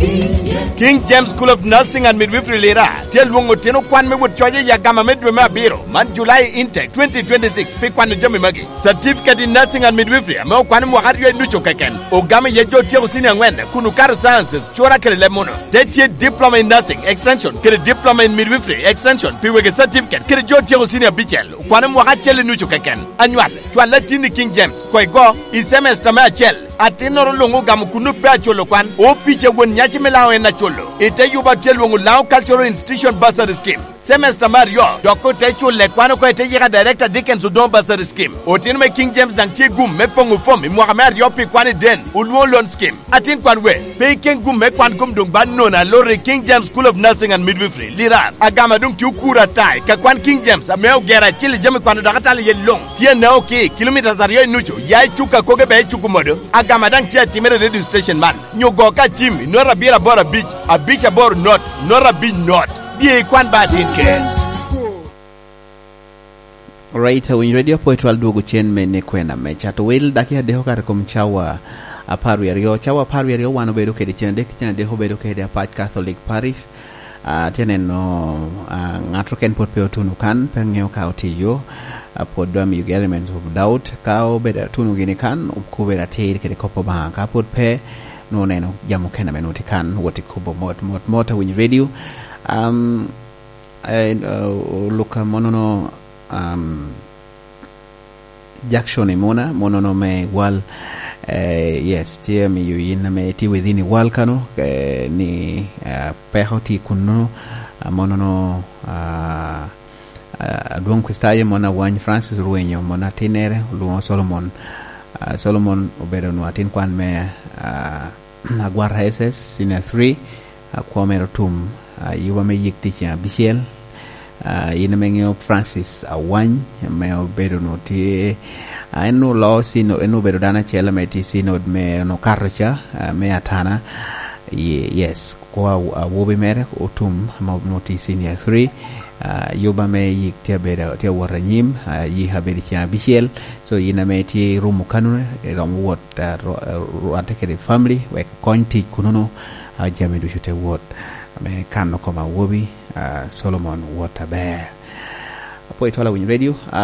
King James School of Nursing and Midwifery Lira tye lwongo tino kwan me wot coc i agama me dwe me abiro man July Intake 2026 pi kwano jami magi, Certificate in Nursing and Midwifery ame okwano mwaka aryo i nucu keken ogamo iye jo otyeko senior angwen kun okato Sciences, Cura kede leb muno. Te tye Diploma in Nursing, Extension, kede Diploma in Midwifery, Extension, pi wege certificate kede jo otyeko senior abicel okwano mwaka acel i nucu keken. Anywal, cwal latinni King James, ko igo, i semester me acel. Atinnoro lungo ogamo kunnu pe aculo kwan. Opica won nyaci me lango en aculo. Ite yuba tye lwongo Lango Cultural Institution Bursary Scheme. Semester me aryo dok ote cule kwan oko ite yika Director Dickens Odongo Bursary Scheme. Otino me King James dang tye gum me pongo fom i mwaka me aryo pi kwan i Den Olwongo Loan Scheme. Atin kwan we pe ikeng gum me kwan kom dong ba nono aloti King James School of Nursing and Midwifery, Lira. Agama dong tye okuro ata i ka kwan King James ame ogero acel i jami kwano dok atalo iye long. Tye nao ki kilometres aryo i nucu ya i cuk akoge bene i cuk omodo. Agama dang tye atimere i radio station man nyo go ka cim i not abiro aboro abic abic aboro not not abic not. Bye i kwan ba atin ker. Right, winj radio apoyo twal dwogo cen me ne kwena me cato wil dakika adek okato i kom cawa 12. Cawa 12 wan obedo kede cen adek ki cen adek obedo kede Apac Catholic Parish. Atye neno ngat keken pwod pe otuno kan, pe angeyo ka otye iyo. Pwod dwa miyo gi element of doubt. Ka obedo atuno gini kan, obedo atir kede kop pa Lubanga. Ka pwod pe, nongo neno jami mukene me nongo tye kan wot ikubo mot mot mot awinyo radio. Um, oluka monono um, Jackson Imuna munono me Gwal eh, yes tye miyo in me tye within i Gwal kano eh, ni eh, peko tye kuno munono ah, adwong Kricitayo mon awany Francis Rwenyo mon atinere olwongo Solomon ah, Solomon obedo nwo atin kwan me ah, Agwata SS Senior 3 kwo mere otum yuba me yik tye ceng abicel in ame ingeyo Francis Awany me obedo nwo tye en nwo loo synod en nwo obedo dano acel ame tye synod me nwo kato ca me Atana yes kwo awobi mere otum ma nwo tye senior 3 yuba me yik tye abedo tye awot anyim yik abedo ceng abicel so in ame itye irumo kanu iromo wot rwate kede family wek kony tic kununu jami ducu te wot me kano kom awobi Solomon wot aber. Apoyo twal awinyo radio.